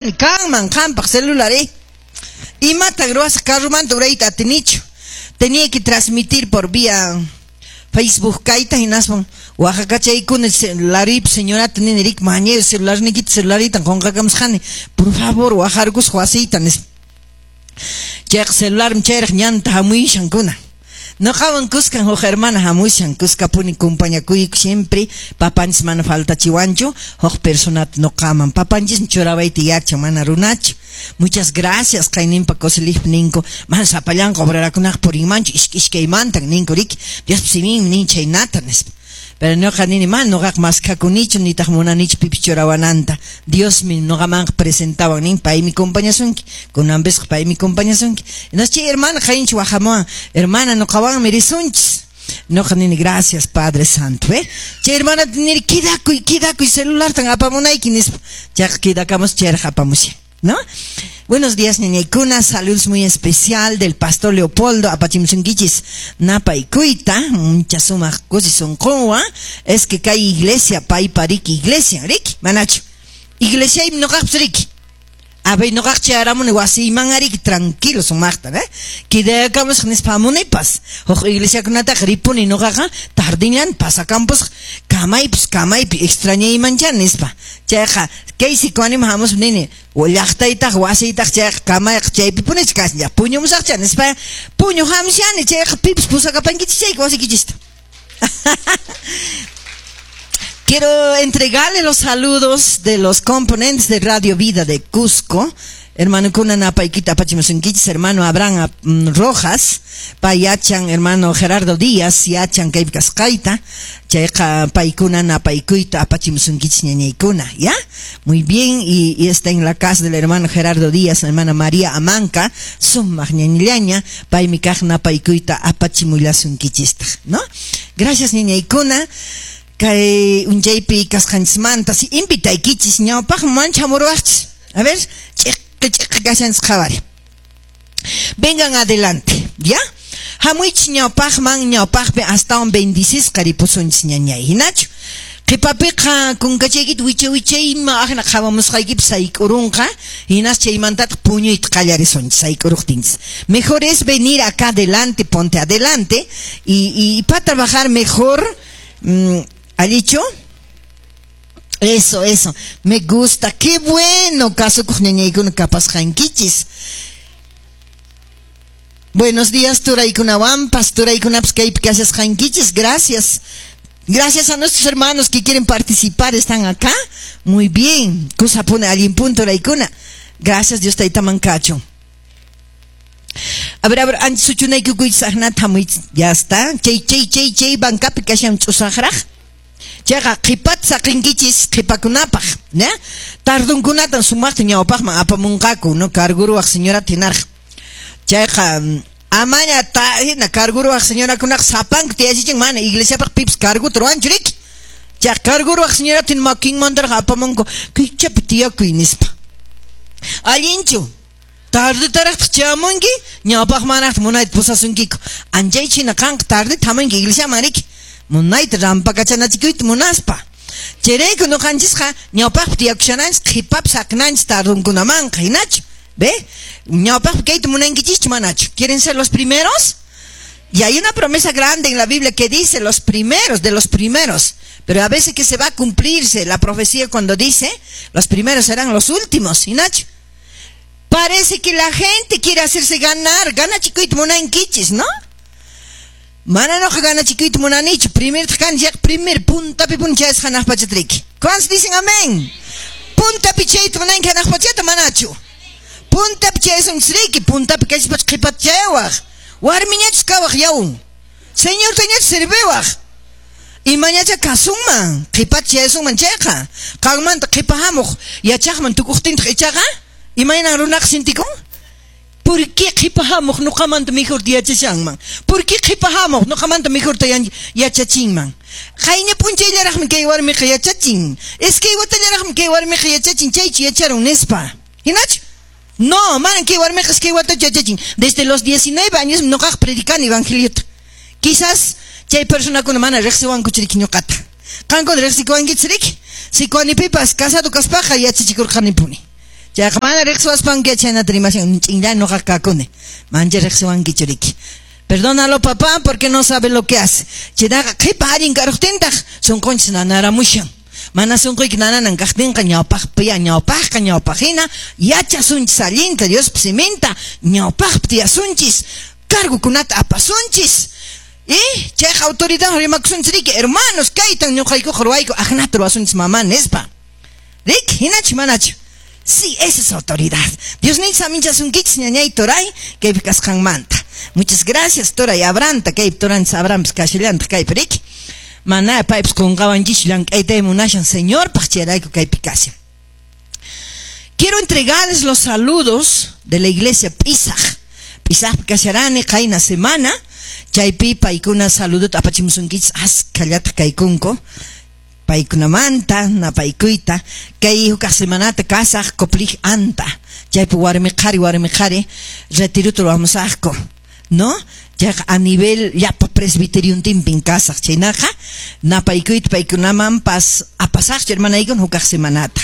Kanman qampaq celular, ¿eh? Imatan ruwasaq? Carromanta urayta atinichu. Tenía que transmitir por vía Facebook kayta, hinaspan waqakachaykuna lariypi señorata nini, rik mañayo celularniykita, celulariytan qunqakamusqani, por favor waqarkusaq wasiyta, nispa. Chayqa celularmi chayraq ñanta hamuyushankuna. Noqawan kuskan huk hermana hamushan, kuskapuni compañakuyku siempre, papanchis mana faltachiwanchu, huk personata noqaman. Papanchismi churawayta yachan, mana runachu. Muchas gracias, qayninpa coselijpi ninku, mana sapallanqa obrerakunaqa purinmanchu, ishkay ishkaymantan ninku, riki, Diospa siminmi nin chaynata, nispa. Pero ñuqa nini, mana ñuqaqa maskakunichu, nitaq munanichu pipis churawananta. Diosmi ñuqamanqa presentawan nin, paymi compañasunki. Kunanpisqa paymi compañasunki. Entonces chay hermana qayinchi waqamuwan, hermana, ñuqawanmi risunchis. Ñuqa nini, gracias, Padre Santo, ¿eh? Chay hermanata nini, quedakuy, quedakuy, celulartan apamunayki, nispa. Chayqa quedakamus, chayraq apamushan, ¿no? Buenos días, ñañaykuna. Saludos muy especial del pastor Leopoldo. Apachimusunkichis napaykuyta. Mucha sumaq kusi sunqunwan. Es que kay iglesia, paypa riki iglesia, riki, manachu. Iglesiaymi ñuqaqpis riki. A ver, ñuqaq chayaramuni wasiyman riki, tranquilo sumaqta, ¿eh? Quedakamusaq nispa hamunipas. Huk iglesiakunataqa ripuni ñuqaqa tardinllan pasakampusaq, kamaypis kamaypi extrañaymancha nispa. Chayqa kay sikuanima hamuspa nini, llaqtaytaq wasiytaq chayqa kamayqa chaypipunich kashan, puñumusaqcha nispa, puñu hamushani, chayqa pipis pusakapankichis chayqa wasiykichista. Quiero entregarle los saludos de los componentes de Radio Vida de Cusco. Hermano kuna napaykita apachimusunkichis, hermano Abraham Rojas, payachan, hermano Gerardo Díaz, yachan kaypi kasqayta, chayqa paykuna napaykuyta apachimusunkichis ñañaykuna, ¿ya? Muy bien, y está en la casa del hermano Gerardo Díaz, hermana María Amanca, sumaq ñañillaña, paymi kaq napaykuyta apachimullasunkichistaq, ¿no? Gracias, ñañaykuna. Kay unchaypi kasqanchismanta, si invitaykichis ñawpaqman mancha hamuruwaqchis. A ver, ch'iqi ch'iqi kashanchis qhawari. Vengan adelante, ¿ya? Hamuychis ñawpaqman, ñawpaqpi astawan bendicisqa ripusunchis ñañay, hinachu? Qhipapiqa kunkachaykita wicha wichayma aqna qhawamusqaykipi sayk'urunqa, hinas chaymantataq puñuyta qallarisunchis sayk'uruqtinchis. Mejor es venir acá adelante, ponte adelante, y para trabajar mejor, ¿allichu? Eso, eso, me gusta, qué bueno, kasukuq ñañaykuna kapasqankichis. Buenos días, turaykunawanpas, turaykunapas kaypi kashasqankichis, gracias. Gracias a nuestros hermanos que quieren participar, están acá. Muy bien, kusapuna allin punto turaykuna. Gracias, Dios taytaman kacho. A ver, antes suchunaykukuychis aqnata hamuychis, ya está. Chay, chay, chay, chay, bancapi kashan ch'usaqraq. Chayqa qhipata saqinkichis qhipakunapaq, ¿ya? Tardunkunatan sumaqta ñawpaqman apamunqaku, ¿no? Carguruwaq señorata hinarqa. Chayqa amaña ta hina carguruwaq señorakunaqa sapanku tiyachichin, mana iglesiapaq pipis carguta ruwanchu riki. Chayqa carguruwaq señorata hina makinmantaraq apamunku, kaychapi tiyakuy nispa. Allinchu? Tardetaraqtaq chayamunki, ñawpaqmanraqtaq munayta pusasunkiku. Anchaychu hina qanqa tardeta hamunki iglesiaman riki. Munayta rampakachanachikuyta munaspa. Chayrayku ñuqanchisqa ñawpaqpi tiyakushananchis, qhipapi saqnanchis tardunkunamanqa, hinachu? ¿Ve? Ñawpaqpi kayta munankichischu manachu? ¿Quieren ser los primeros? Y hay una promesa grande en la Biblia que dice los primeros de los primeros. Pero a veces que se va a cumplirse la profecía cuando dice los primeros serán los últimos, hinachu? Parece que la gente quiere hacerse ganar. Gana chikuyta munankichis, ¿no? Mana noqa gana chikuyta munanichu. Primer kan ya primer puntapi punchayas hanaq pachatriki. ¿Cuántos dicen amén? Puntapi chayta munanki hanaq pachata manachu. Puntapi chayasunchisriki, puntapi kashpacha qhipata chayawaq. Warmiñachus kawaq yawun. Señortañachus sirviwaq. Imañacha kasunman, qhipata chayasunman chayqa. Qanmanta qhipa hamuq yachaqman tukuqtintaq ichaqa, imaynan runaqa sintikun? ¿Por qué qhipa hamuq ñuqamanta mejor yachashanman? ¿Por qué qhipa hamuq ñuqamanta mejor yachachinman? Qayna p'unchayllaraqmi kay warmiqa yachachin. Iskay watallaraqmi kay warmiqa yachachin, chaychu yacharun nispa. Hinachu? No, manan kay warmiqa iskay watachu yachachin. Desde los 19 años ñuqaqa predicani evangeliota. Quizás chay personakuna mana riqsiwankuchu riki ñuqata. Qankuna riqsikuwankichis riki? Sikuanipipas casado kaspaqa yachachikurqanipuni. Chayqa mana riqsiwaspanki chaynata rimashan ch'inlla ñuqa kakuni. Mancha riqsiwankichu riki. Perdónalo papá porque no sabe lo que hace. Chaytaqa qhipa allin karuqtintaq sunqunchis nanaramushan. Mana sunquyki nananan kaqtinqa ñawpaqpi ñawpaqqa ñawpaqhina yachasunchis allinta Diospa siminta ñawpaqpi tiyasunchis cargokunata apasunchis. Y chayqa autoridad rimakusunchis riki hermanos kaytan ñuqaykuqa ruwayku aqnata ruwasunchis mamá nispa. Riki hinachu manachu. Sí, esa es autoridad. Dios ninchis aminchasunkichis ñañay turay kaypi kasqanmanta. Muchas gracias turay Abranta kaypi turanchis Abrampis kashallantaq kaypi riki. Mana paypis qunqawanchis llank'aytay munashan Señorpaq chayrayku kaypi kashan. Quiero entregarles los saludos de la iglesia Pisaj. Pisajpi kasharani qayna semana chaypi paykuna saludota apachimusunkichis askhallataq kaykunku. Paykunamanta napaykuyta kay hukaq semanata kasaq Coplij anta chaypi warmi qhari retiruta ruwamusaqku, ¿no? Chayqa a nivel llapa presbiteriontinpin kasaq chaynaqa napaykuyta paykunamanpas apasaqchu hermanaykuna hukaq semanata.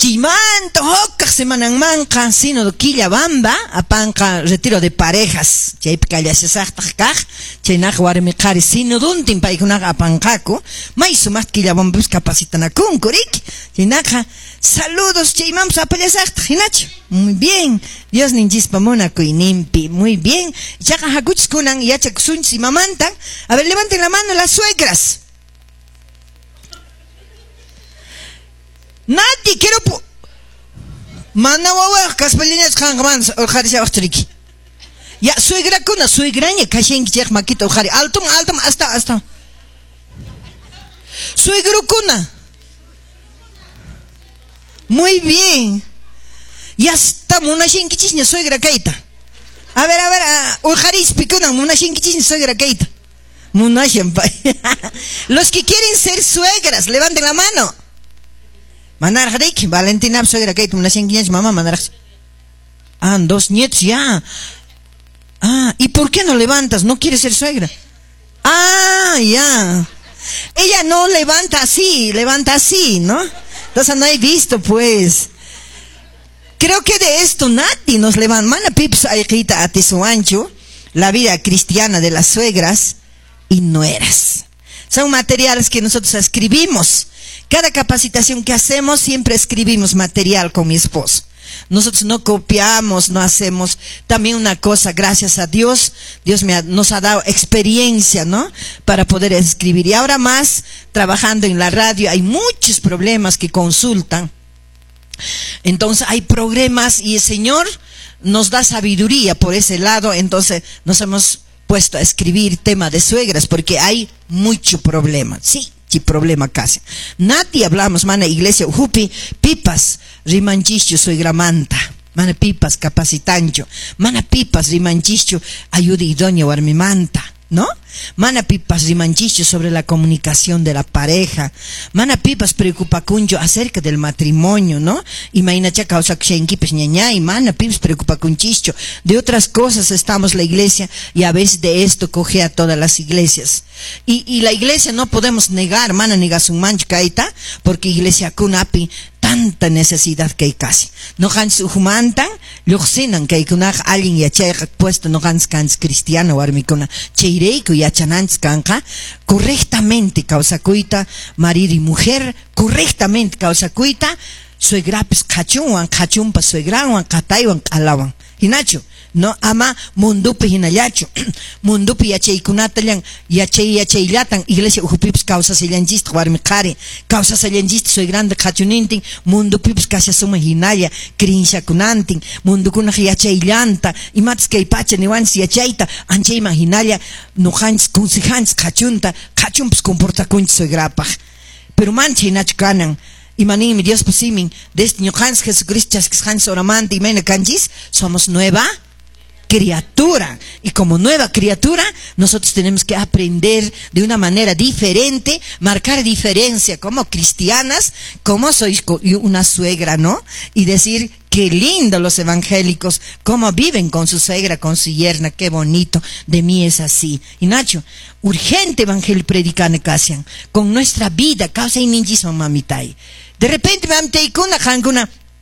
Chaymanta hukaq semananmanqa sínodo Quillabamba apanqa retiro de parejas chaypi kallashasaqtaq kaq chaynaqa warmi qhari sinoduntin paykunaqa apanqaku may sumaqta Quillabambapis capacitanakunku riki chaynaqa saludos chaymanpas apallasaqtaq hinachu. Muy bien, Dios ninchispa munakuyninpi, muy bien. Ichaqa hakuchis kunan yachakusunchis imamantan. A ver, levanten la mano las suegras. Nati, quiero mana wawaq kaspallañach qanqa mana urqharishawaqchu riki. Ya, suegrakuna, suegraña kashanki chayqa makita urqhari. Altum, altum, hasta, hasta. Suegrukuna. Muy bien. Ya está munashankichisña suegra kayta. A ver, urqharispi kunan munashankichisña suegra kayta. Munashan pay. Los que quieren ser suegras, levanten la mano. Manaraj riki, Valentina suegra kayta munashankiñachu mamá manaraj. Ah, 2 nietos ya. Ah, ¿y por qué no levantas? ¿No quieres ser suegra? Ah, ya. Ella no levanta así, levanta así, ¿no? Entonces no he visto, pues. Creo que de esto nadie nos levanta. Mana pips ayqita atisuanchu, la vida cristiana de las suegras y nueras. Son materiales que nosotros escribimos. Cada capacitación que hacemos, siempre escribimos material con mi esposo. Nosotros no copiamos, no hacemos. También una cosa, gracias a Dios, Dios nos ha dado experiencia, ¿no? Para poder escribir. Y ahora más, trabajando en la radio, hay muchos problemas que consultan. Entonces hay problemas y el Señor nos da sabiduría por ese lado. Entonces nos hemos puesto a escribir tema de suegras porque hay mucho problema. Sí. Problema casi. Nati hablamos, mana iglesia ujupi, pipas, rimanchischu suegramanta, mana pipas capacitancho, mana pipas rimanchischu ayuda idónea warmimanta, ¿no? Mana pipas rimanchischu sobre la comunicación de la pareja, mana pipas preocupacuncho acerca del matrimonio, ¿no? Imainacha causa kushankipis ñañay, mana pipas preocupacunchischu. De otras cosas estamos la iglesia y a veces de esto coge a todas las iglesias. Y la iglesia no podemos negar, mana negasunmanchu kayta, porque iglesia kunapi tanta necesidad que hay casi. No hans ujumantan, lluqsinan kaykunaqa allin yachayqa puesto no hans kans cristiano warmikuna chayrayku yachananchis kanqa correctamente kawsakuyta marido y mujer correctamente kawsakuyta suegrapis qhachunwan qhachunpa suegranwan qataywan q'alawan hinachu. No ama mundupi hinallachu mundupi yachaykunatallan yachay yachayllatan iglesia ujupipis kawsasallanchistaq warmi qhari kawsasallanchistaq suegranta qhachunintin mundupipis kashasuman hinalla creenciakunantin mundukunaq yachayllanta imatas kay pacha niwanchis yachayta anchayman hinalla nuqanchis consejanchis qhachunta qhachunpis comportakunchis suegrapaq pero mancha hinachu kanan. Imaninmi Diospa simin desde ñuqanchis Jesucristo chaskisqanchis horamanta imayna kanchis somos nueva criatura. Y como nueva criatura, nosotros tenemos que aprender de una manera diferente, marcar diferencia como cristianas, como sois una suegra, ¿no? Y decir, qué lindo los evangélicos, cómo viven con su suegra, con su yerna, qué bonito, de mí es así. Y Nacho, urgente evangelio predicar casian, con nuestra vida, causa y ninchismo mamitai. De repente mamitaykuna qankuna.